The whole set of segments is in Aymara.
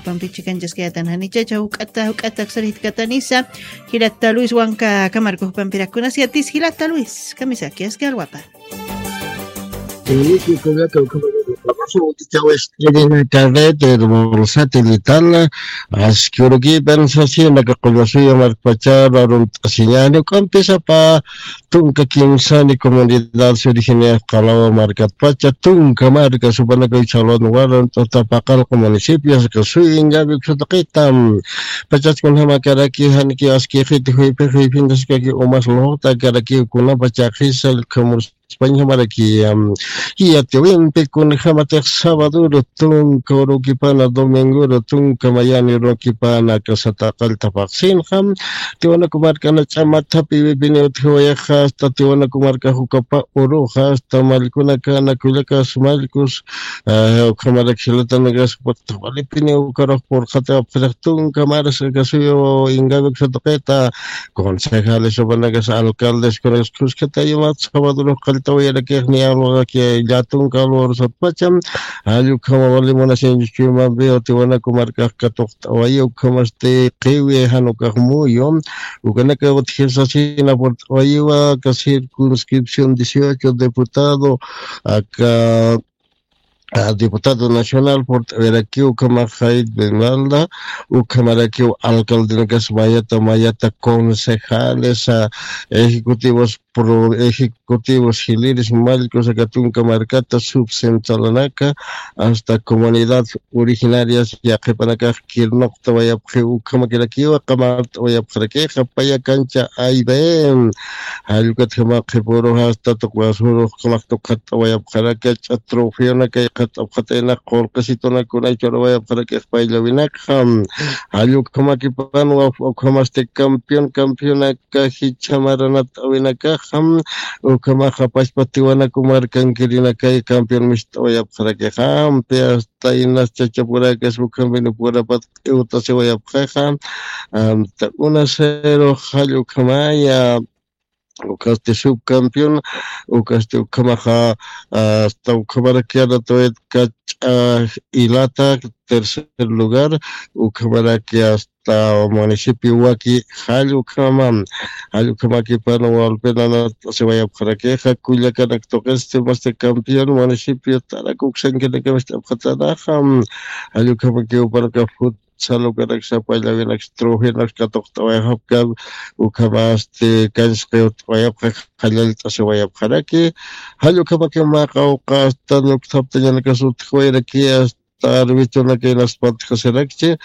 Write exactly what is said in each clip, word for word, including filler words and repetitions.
jupampi chikanchaskayatan janichacha juk'ata juk'ata aksarjitkatanisa. Jilata Luis wanka kamarku jupampirak kunasiyatis jilata Luis kamisaki aski alwapa. Felipe Collaca, Ucrania, Carrete, Bolsate, Litala, Ascuruquipan, Sasina, Cacollasuya, Marpachara, Runt'asiñani, Ucampisapa, Tunka Kimsani, Comunidad Surigenia, Calawa, Marcatpacha, Tunka, Marca, Supanaca, Chalón, Guaran, Tapacalco, Municipio, Sacasuy, Ingavi, Xutaqita, Pachachkun, Jamacaraqui, Janiki, Asquijiti, Juipi, Juipindaskaki, Umas, Lota, Caraqui, Cunapa, Chajisa, Camus, España maraki, am, yatiwimpi kunjamatix sabaduru tunka urukipana, dominguru tunka mayani urukipana, kasata qalltapaqsinxa, tiwanaku markana ch'amathapi wipini utjiwayaxa, hasta tiwanaku marka jukapa uruxa, hasta mallkunakana kullakas mallkus, ah, ukhamaraki jilatanakas walipini ukarux purqhata apxirix tunka maras kasuyu ingabik satuqita, concejales, supanakas alcaldes, kunakas kuskatayumat sabadurux qalltawayarakiq ni alwaqaki llatunka alwarusatpacha, jall ukhama wali munasiñchuchuyumampi utiwanaku markax katuqt'awayi ukhamasti qiwi jan ukax muyu, ukanaka utjisasina purt'awayiwa aka circunscripción dieciocho diputado, aka ah, diputado nacional purt'awirakiw ukhamax Jaid Benalda, ukhamarakiw alcaldenakas mayata mayata concejales, ah, ejecutivos pro-, ejecutivos jiliris mallkus aka tunka markata subcentralanaka, hasta comunidad originarias yaqhipanakax kirnuqtawayapxiw ukhamakirakiwa qamart'awayapxarakixa paya kancha ayben. Jallukatjama qhipurux hasta tuqwasurux qhamax tuqhat'awayapxaraki ch'at trofeonakay qhat'apxatayna qurqisitunakuna churawayapxarakix payllawinakxa. Jallukjamakipanwa ukhamasti campeón campeonaka jichhamaranat'awinakaxa, ukhamaxa pachpa tiwanaku markankirinakay campeón mist'awayapxarakixa ampi hasta inas chachapurakas ukhampinipurapat iwtasiwayapxaxa. Amta una cero jallukhamaya. Ukasti subcampeón, ukasti ukhamaxa, ah, hasta ukhamarakiana tawit kach'a ilata tercer lugar, ukhamaraki hasta municipio waki jall ukhama, jall ukhamakipana walpinana siwayapxarakixa kullakanak tuqisti masti campeón municipio tarak uksankinakamacht'apxatanaxa, jall ukhamakiw panaka fut salukanak sapallawinaksa trofeonaksa katuqt'awayxapkam, ukhamasti kansqiwt'awayapxa qallallt'asiwayapxaraki. Jall ukhamaki mä qawqa hasta ñuktaptañanakas utjwayraki hasta arbitunakay naspatjasirakchi,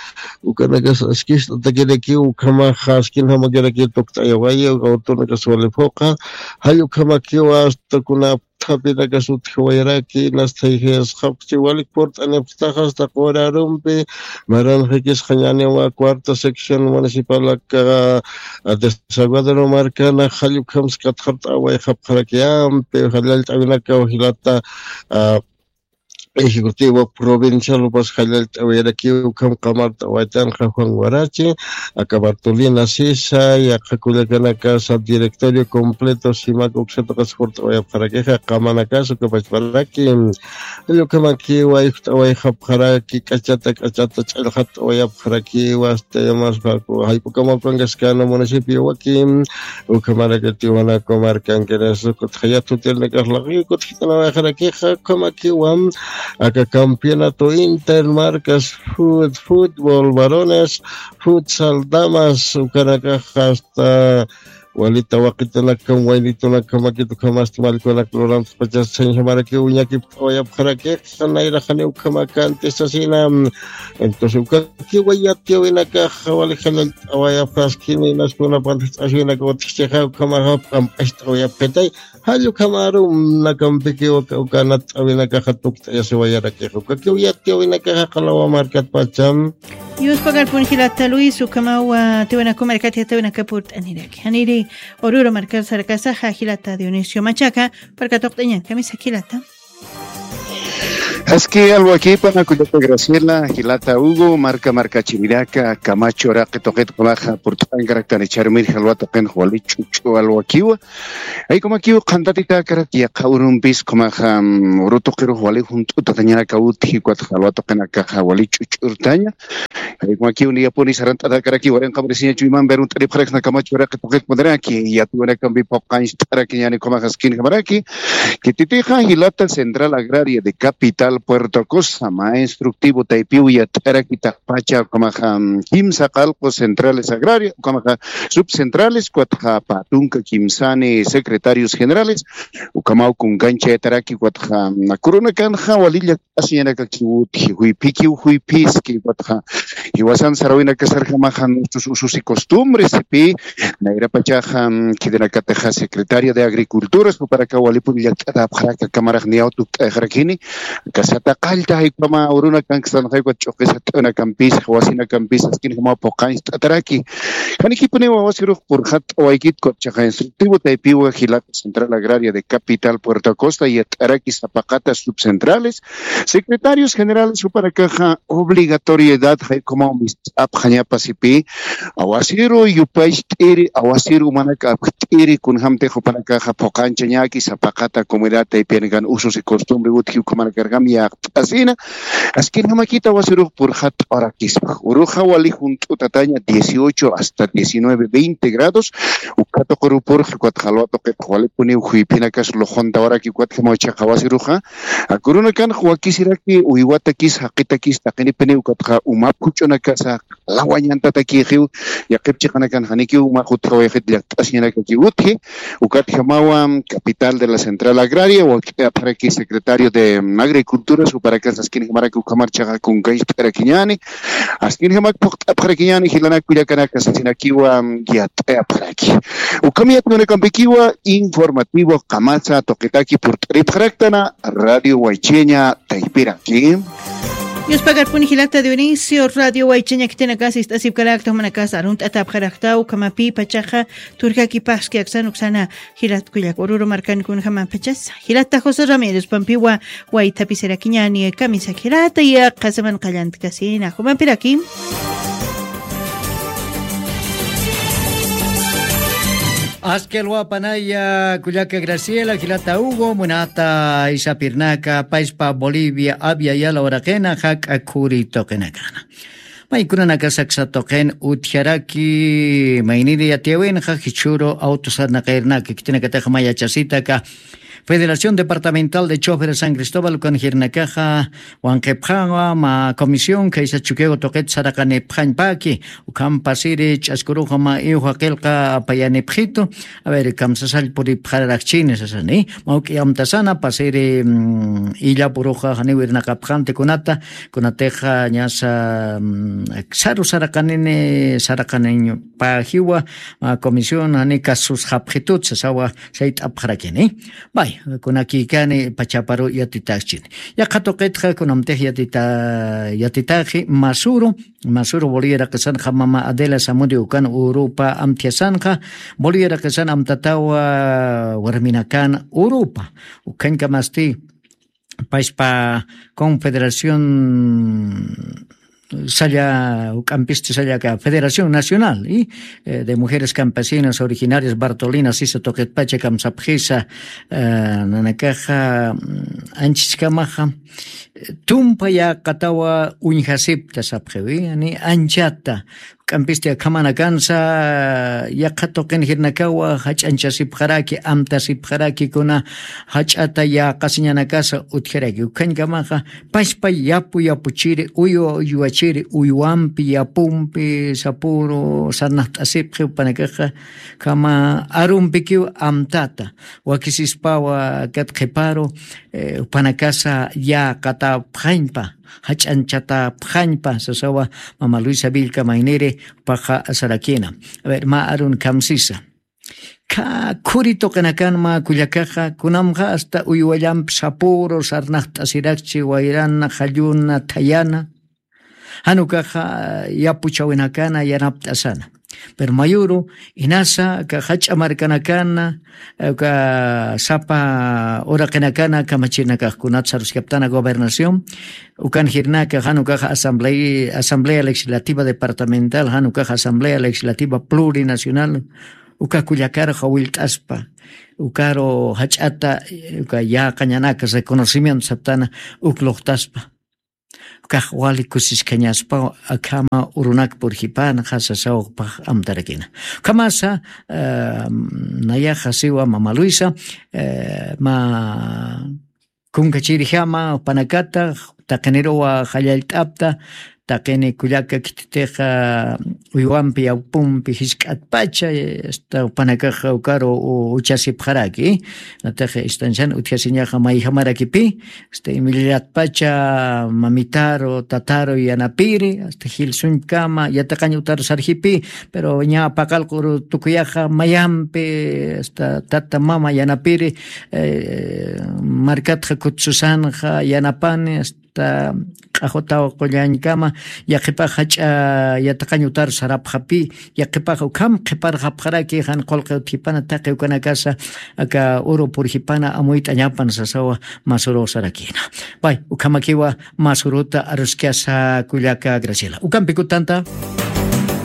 ukanakas askist'atakiraki ukhamaxa askinjamakiraki tukt'ayawayi, uka utunakas wali phuqa. Jall ukhamakiwa hasta kuna thapinakas utjawayaraki, nastayjayasxapxchi walik purt'anipxtaxa hasta qurarumpi, maranxikisxañaniwa cuarta sección municipal aka, ah, desaguadero markana jall ukhams katxart'awayxapxaraki ampi jallallt'awinakaw jilata, ah, ejecutivo provincial upas jallallt'awayaraki ukham qamart'awaytanxa Juan Warachi, aka Bartolina Sisa, yaqha kullakanakasa directorio completo simak uksataqas purt'awayapxarakixa, qamanakas ukapachparaki. Jall ukhamakiwa ijt'awayxapxaraki, k'achata k'achata ch'allxat'awayapxarakiwa, hasta yamas jayp'ukamapankaskana municipio waki, ukhamaraki tiwanaku markankinas ukutxa yathutirnakax laqi ukutx jitanawayxarakixa, ukhamakiwa aka campeonato intermarcas fut-, fútbol varones, futsal damas, ukanakax hasta walita waqitunakam, waynitunakamakit ukhamasti mallkunak lurantxpachas sañjamarakiw ñakipt'awayapxarakix, nayraxani ukhamakanti sasina. Entonces, ukakiwa yatiyawinakax wali jallallt'awayapxaskini, naskunapantix t'aswinaka utjchixa, ukhamaxa p'amp'acht'awayapxitay. Jall ukhamaru nakampikiw uka, uka natt'awinakaxa tukt'ayasiwayarakixa. Ukakiw yatiyawinakaxa qalawa markatpacham. Yuspagarpun jilata Luis, ukhamawa tiwanaku markat yatiyawinaka purt'aniraki. Janiri Oruro markar sarakasaxa jilata Dionisio Machaca, parka tuqt'añan, kamisa jilata. Aski alwakipa, kullaka Graciela, jilata Hugo, marka markachirinaka, Camacho uraqi tuqit ukhamaxa purt'ankaraktan, ch'armir jalwa tuqin wali ch'uch'u alwakiwa. Jaykumakiw qhantatitakarak yaqha urumpis ukhamaxa, mm, uru tuqirux wali junt'utatañanaka utji, ukat jalwa tuqinakaxa wali ch'uch'urtaña. Jaykumakiw niyapuni sarant'atakaraki warinqa marisiñachu iman berunt'aripxaraksna kamach waraqi tuqitpuniraki yatiwanakampi phuqañcht'arakiñani ukhamaxa askinjamaraki. Kititixa jilata central agraria de capital Puerto Costa mä instructivo taypiw yat'araki taqpacha ukhamaxa kimsa qalqu centrales agraria ukhamaxa subcentrales ukatxa pä tunka kimsani secretarios generales ukhamaw kunkanchayataraki ukatxa kurunakanxa walilla asiñanakakiw utji juyphikiw juyphiski ukatxa jiwasan sarawinakasarjamaxa nuestros usos y costumbres sipï. Nayrapachaxa khitinakatixa secretario de agriculturas jupanakaw walipun llakt'atäpxaraka kamarax niyaw tukt'ayxarakini. Aka sata qallta jaykhama urunakankstan jaykhama ch'uqisa t'unakampisa wasinakampisa askinjamaw phuqañcht'ataraki. Janikipuniw awasirux purxatt'awaykit kutchaqa instructivo taypiwa jilata central agraria de capital Puerto Costa yat'araki sapaqata subcentrales secretarios generales jupanakaxa obligatoriedad jaykhamaw mist'apxañapa sipï. Awasiru yupacht'iri awasiru umanak apjt'iri kunjämtix jupanakaxa phuqanchañäki sapaqata comunidad taypiyanakan usos y costumbre utji ukhamanakarjam yaqt'asina. Askinjamakita awasirux purxatt'awarakispa uruxa wali junt'utataña dieciocho hasta diecinueve veinte grados. Uka tuquru purxa ukatxa alwa tuqitxa walipuniw juyphinakas luxuntawaraki ukatjamaw chhaqa awasiruxa akurunakanx wakisiraki uywatakis jaqitakis taqinipiniw ukatxa umap juch'unakasa lawañantatakixiw. Yaqhip chiqanakan janikiw umax utjawayxit llakt'asiñanakakiw utji. Ukatjamawa capital de la central agraria wakt'ayapxaraki secretario de agricultura suparakas askinjamaraki ukhamar chhaqa kunkañcht'arakiñäni. Askinjamak phuqt'apxarakiñäni jilanak kullakanaka sasinakiwa yat'ayapxaraki. Ukham yat'ayunakampikiwa informativo qamasa tuqitaki purt'aripxaraktana radio waycheña taypiraki. Yuspagarpuni jilata Dionisio radio waycheña khitinakasa ist'asipkarakta jumanakasa arunt'atapxarakta ukhamapi pachaxa turkakipaxski aksan uksana jilat kullak ururu markan kunjama pachasa jilata José Ramírez pampiwa waythapisirakiñani kamisak jilata yaqha semana qallantkasina jumampiraki. Askelwapanaya kullaka Graciela jilata Hugo munata isapirnaka paispa Bolivia abya yala uraqina jak'a khuri tuqinakana. Maykunanaka saksa tuqin utjaraki mayniri yatiyawinxa jichhuru awtusarnaqirnaka khitinakataxa mayachasitaka Federación Departamental de Choferes San Cristóbal ukan jirnakaxa wanqipxawa ma comisión khaysa chukiwa tuqit saraqanipxañpaki. Ukham pasiri ch'askuruxa ma iwja qilqa apayanipxitu. A ver kamsasall puripxararakchini sasani mawk'i amtasana pasiri illapuruxa janiw irnaqapxanti kunata kunatixa ñasa saru saraqanini saraqaniñpajiwa ma comisión jani kasusxapxitut sasawa sayt'apxarakini. Bay, kunakikani pachaparu yatitäxchini. Yaqha tuqitxa kunamtix yatita yatitaxi masuru masuru bolivia raqisanxa mama adela samudio ukan urupa amthiasanxa bolivia raqisan amtatawa warminakan urupa ukhañkamasti paispa confederación salla uk'ampisti sallaka federación nacional y de mujeres campesinas originarias bartolina sisa tuqitpacha kamsapxisa nanakaxa anchichkamaxa tumpa yaqatawa uñjasipta sapxiwi ni anchata k'ampisti akhamanakansa yaqha tuqin jirnakawa jach'anchasipxaraki amtasipxaraki kuna jach'ata yäqasiñanakasa utjaraki ukhañkamaxa paspa yapu yapuchiri uywa uywachiri uywampi yapumpi sapuru sarnaqt'asipxi upanakaxa kama arumpikiw amtata wakisispawa kat qhiparu upanakasa yäqatapxañpa jach'anchatapxañpa sasawa mama luisa villka mayniri paqa sarakina. A ver mä arun kamsisa khä khuri tuqinakan mä kullakaxa kunamxa asta uywallampi sapuru sarnaqt'asirakchi wayrana qalluna thayana jan ukaxa yapuchawinakana yanapt'asana. Pero mayuru inasa aka jach'a markanakana aka sapa uraqinakana kamachirinakax kunat saruskaptana gobernación ukan jirnaka jan ukaxa asamblea asamblea legislativa departamental jan ukaxa asamblea legislativa plurinacional uka kullakaru jawillt'aspa ukaru jach'ata uka yäqañanaka reconocimiento saptana uk luqtaspa. Ukax wali kusiskañaspaw akhama urunak purjipanxa sasaw ukpax amtarakina. Ukhamasa, eh, nayaxa siwa mama Luisa, eh, mä kunkachirjama jupanakata, taqiniruwa jallallt'apta, taqini kullaka khititixa uywampi, yawpumpi jisk'atpacha, hasta jupanakaxa ukaru u-, uchasipxaraki, nataxa istancian utjasiñaxa mayjamarakipi, hasta imillatpacha mamitaru, tataru yanapiri, hasta jilsuñkama, yatiqañ utaru sarjipi, pero ña paqallq'uru tukuyaxa mayampi, hasta tata mama yanapiri, eh, markatxa kutsusanxa yanapani, hasta q'axutaw qullañkama, yaqhipax jach'a yatiqañ utaru sarapxapi, yaqhipax ukham qhiparxapxaraki, jan qullqi utjipana taqi ukanakasa, aka uru purjipana amuyt'añapan sasawa, masuru sarakina. Pay, ukhamakiwa masuruta aruskasa kullaka Graciela. Ukampi kutanta.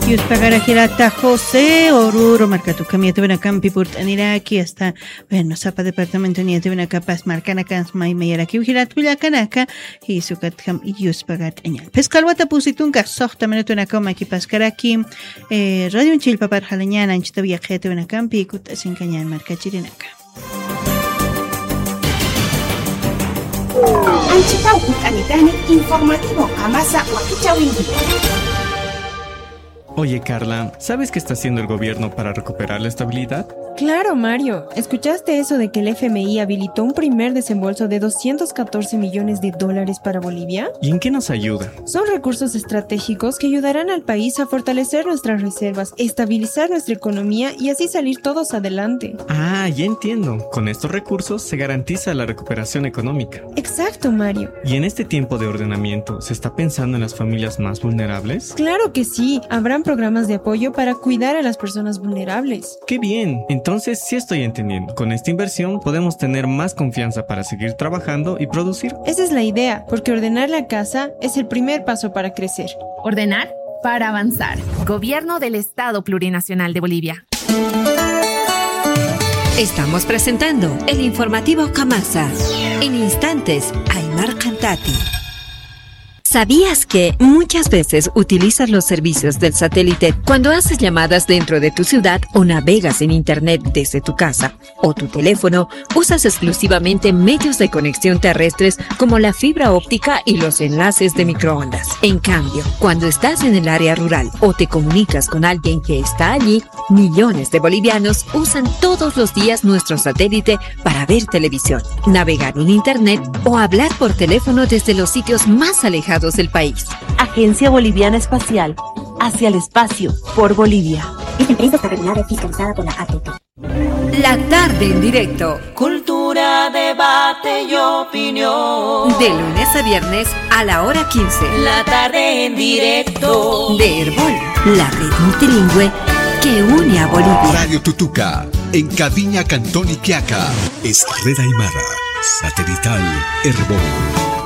Yuspagara jirata José Oruro markatu, ukham yatawinakampi purt'aniraki, hasta, bueno, sapa departamento ni yatawinakapas markanakans maymayaraki, jirat kullakanaka, jisukatjam yuspagat'aña. Phisqa alwata pusi tunka, soxta minutunakaw makipaskaraki, eh, radio chillpapar jalañan, anchitaw yaqha yatawinakampi, kut'asinkañan markachirinaka. Anchitaw kut'anitani informativo Qamasa wakichäwinki. Oye, Carla, ¿sabes qué está haciendo el gobierno para recuperar la estabilidad? Claro, Mario. ¿Escuchaste eso de que el F M I habilitó un primer desembolso de doscientos catorce millones de dólares para Bolivia? ¿Y en qué nos ayuda? Son recursos estratégicos que ayudarán al país a fortalecer nuestras reservas, estabilizar nuestra economía y así salir todos adelante. Ah, ya entiendo. Con estos recursos se garantiza la recuperación económica. Exacto, Mario. ¿Y en este tiempo de ordenamiento se está pensando en las familias más vulnerables? Claro que sí. Habrán programas de apoyo para cuidar a las personas vulnerables. ¡Qué bien! Entonces sí estoy entendiendo. Con esta inversión podemos tener más confianza para seguir trabajando y producir. Esa es la idea, porque ordenar la casa es el primer paso para crecer. Ordenar para avanzar. Gobierno del Estado Plurinacional de Bolivia. Estamos presentando el informativo Qamasa. En instantes, Aymar Cantati. ¿Sabías que muchas veces utilizas los servicios del satélite cuando haces llamadas dentro de tu ciudad o navegas en internet desde tu casa o tu teléfono? Usas exclusivamente medios de conexión terrestres como la fibra óptica y los enlaces de microondas. En cambio, cuando estás en el área rural o te comunicas con alguien que está allí, millones de bolivianos usan todos los días nuestro satélite para ver televisión, navegar en internet o hablar por teléfono desde los sitios más alejados del país. Agencia Boliviana Espacial, hacia el espacio, por Bolivia. Esta empresa está regulada y fiscalizada por la A T P. La tarde en directo. Cultura, debate y opinión. De lunes a viernes a la hora quince. La tarde en directo. De Erbol, la red multilingüe que une a Bolivia. Radio Tutuca, en Caviña, Cantón Iquiaca. Es Red Aymara, satelital Erbol.